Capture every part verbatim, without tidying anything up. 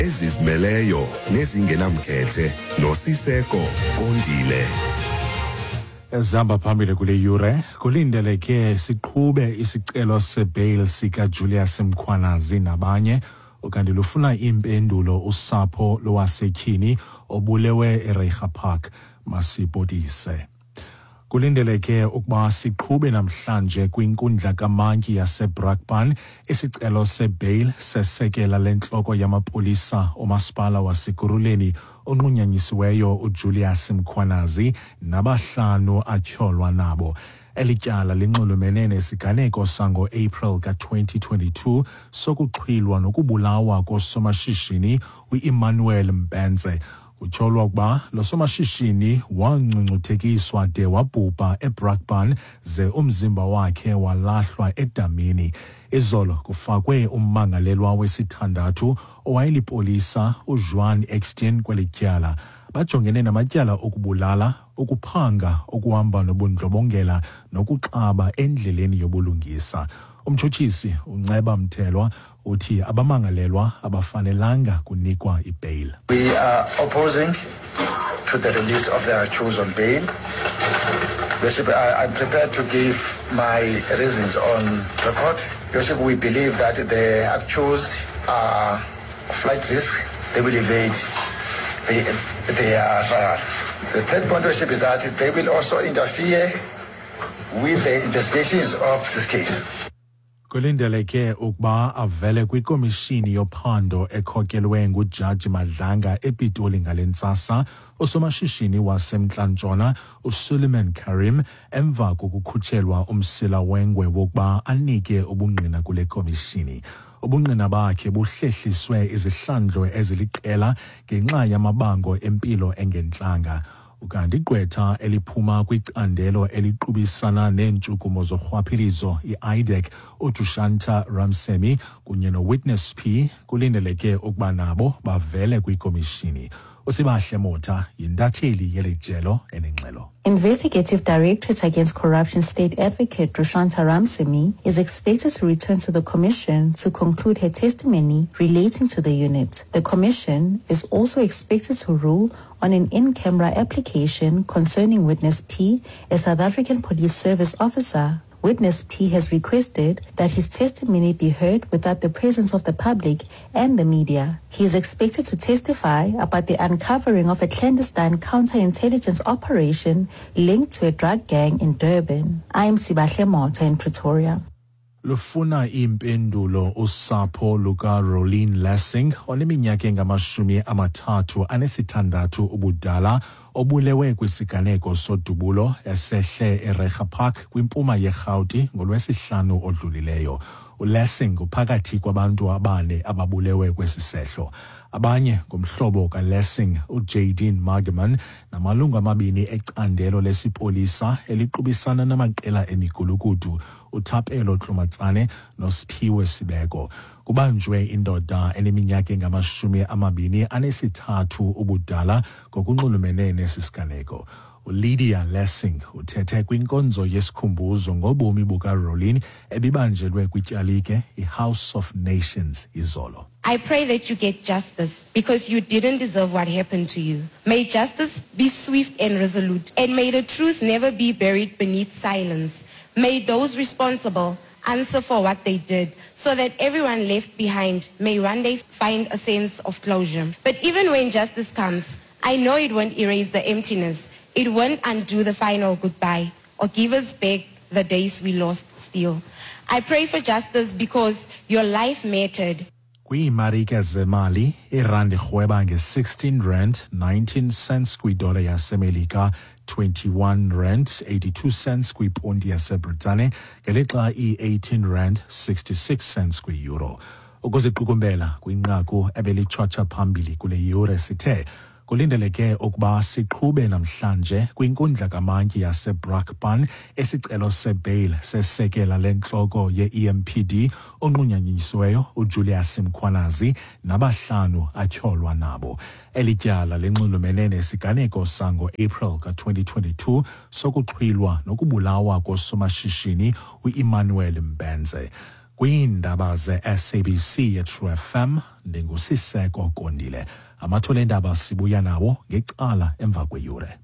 Ezizimeleyo nezingenamkhethe noSiseko Kondile. Ezihamba phambili kule yure, kulindeleke siqhube isicelo sebail sikaJulius Mkhwanazi nabanye, ukanti lufuna iimpendulo usapho lwasetyhini obulewe eReiger Park. Masipotise. Kulindeleke ukuba siqhube namhlanje kwinkundla kamantyi yaseBrakpan isicelo sebail sesekela lentloko yamapolisa omasipala waseKurhuleni onqunyanyisiweyo uJulius Mkhwanazi nabahlanu atyholwa nabo. Eli tyala linxulumene nesiganeko sango-April ka-twenty twenty-two sokuxhwilwa nokubulawa kosomashishini u-Emmanuel Mbense. Kutyholwa ukuba lo somashishini wangcungcuthekiswa de wabhubha eBrakpan ze umzimba wakhe walahlwa edamini. Izolo kufakwe ummangalelwa wesithandathu owayelipolisa uJuan Eksteen kweli tyala. Bajongene namatyala okubulala, ukuphanga, okuhamba nobundlobongela nokuxaba endleleni yobulungisa. Umtshutshisi uNceba Mthelwa uthi abamangalelwa abafanelanga kunikwa ibail. We are opposing to the release of the accused on bail. Worship, I, I'm prepared to give my reasons on record. Worship, we believe that the accused are flight risk. They will evade the, their trial. The third point, Worship, is that they will also interfere with the investigations of this case. Kulindeleke ukuba avele kwikomishini yophando ekhokelwe nguJaji Madlanga ePitoli ngale ntsasa usomashishini waseMntla-Ntshona uSuleiman Karim emva kokukhutshelwa umsila wengwe wokuba anike ubungqina kule komishini. Ubungqina bakhe buhlehliswe izihlandlo eziliqela ngenxa yamabango empilo engentlanga. Ukanti igqwetha eliphuma kwicandelo eliqubisana neentshukumo zorhwaphilizo i-I D E C uDushanta Ramsemi kunye noWitness P kulindeleke ukuba nabo bavele kwikomishini. uSibahle Motha yintatheli yeli jelo enengxelo. Investigative Directorate Against Corruption State Advocate Drushanta Ramsemi is expected to return to the Commission to conclude her testimony relating to the unit. The Commission is also expected to rule on an in-camera application concerning Witness P, a South African Police Service officer. Witness P has requested that his testimony be heard without the presence of the public and the media. He is expected to testify about the uncovering of a clandestine counterintelligence operation linked to a drug gang in Durban. I am Sibahle Motha in Pretoria. Lufuna impendulo usapho luka Rolene Lessing oneminyaka engamashumi amathathu anesithandathu ubudala obulewe kwisiganeko sodubulo esehle eReiger Park kwimpuma yeRhawuti ngolwesihlanu odlulileyo. uLessing uphakathi kwabantu abane ababulewe kwesi sehlo. Abanye ngumhlobo kaLessing uJadine Margeman namalungu amabini ecandelo lesipolisa eliqubisana namaqela emigulukudu uThapelo Tlomatsane noSiphiwe Sibeko. Kubanjwe indoda eneminyaka engamashumi amabini anesithathu ubudala ngokunxulumene nesi siganeko. uLydia Lessing uthethe kwinkonzo yesikhumbuzo ngobomi bukaRolene ebibanjelwe kwityalike iHouse of Nations izolo. I pray that you get justice because you didn't deserve what happened to you. May justice be swift and resolute, and may the truth never be buried beneath silence. May those responsible answer for what they did so that everyone left behind may one day find a sense of closure. But even when justice comes, I know it won't erase the emptiness. It won't undo the final goodbye or give us back the days we lost still. I pray for justice because your life mattered. Kwiimarike zemali, irandi irhweba nge-sixteen rand nineteen cents kwidola yaseMelika, twenty-one rand eighty-two cents kwiponti yaseBritane, ngelixa i-eighteen rand sixty-six cents kwi-euro. Ukuziqukumbela kwinqaku ebelitshotsha phambili kule yure sithe kulindeleke ukuba siqhube namhlanje kwinkundla kamantyi yaseBrakpan esicelo sebail sesekela lentloko ye-E M P D onqunyanyisiweyo uJulius Mkhwanazi nabahlanu atyholwa nabo. Eli tyala linxulumene nesiganeko sango-April ka-twenty twenty-two sokuxhwilwa nokubulawa kosomashishini u-Emmanuel Mbense. Kwiindaba ze-S A B C ye-True F M, ndinguSiseko Kondile. Amathole endaba sibuya nawo ngecala emva kweyure.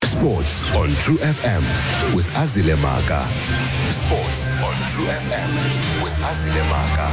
Sports on True F M with Azile Maka. Sports on True F M with Azile Maka.